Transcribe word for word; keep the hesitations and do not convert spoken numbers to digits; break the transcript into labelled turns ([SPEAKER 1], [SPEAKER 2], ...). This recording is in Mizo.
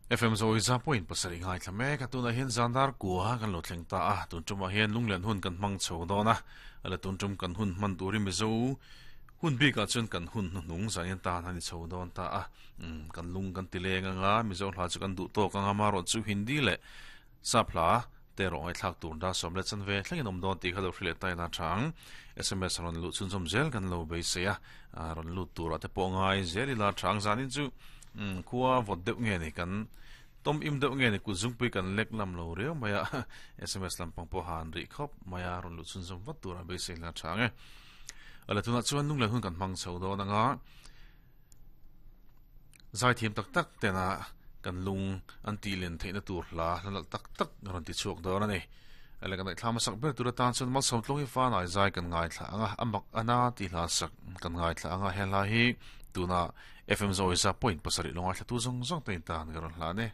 [SPEAKER 1] F M Zoiza point pasarih ngaithla mek a tunah hian zandar kua kan lo thleng ta a tun tumah hian lunglen hun kan hmang chho dawn a ala tun tum kan hun hman turin mizo hun bikah chuan kan hun hnuhnung zanin tan ani chho dawn ta a kan lung kan tileng anga mizo hla chu kan duh tawk anga marawh chu hindi leh sap hla te rawng ai thlak tur da sawm le chan ve thlengin awm dawn tih kha lo hrilh leh taina thang S M S rawn luh chhunzawm zel kan lo beisei a rawn lut tur ah te pawh ngai zel ila thang zanin chu khua vawt deuh nge ni kan tom im deuh nge ni kut zungpui kan lek lam lo riau mai a S M S lampang pawh han rih khawp mai a rawn luh chhunzawm vat tur a beisei la thang e ala tunah chuan lunglen hun kan hmang chho dawn anga zai thiam tak tak tena kan lung an ti len theihna tur hla hla tak tak rawn ti chhuak dawn ani ala kan thlam sak ber tur atan chuan mal som tlong hi fa nai zai kan ngai thla anga amak ana ti hla sak kan ngai thla anga he hla hi tuna F M Zoiza point pasarih longa thla tu zong zong te tan ka rawn hla ne.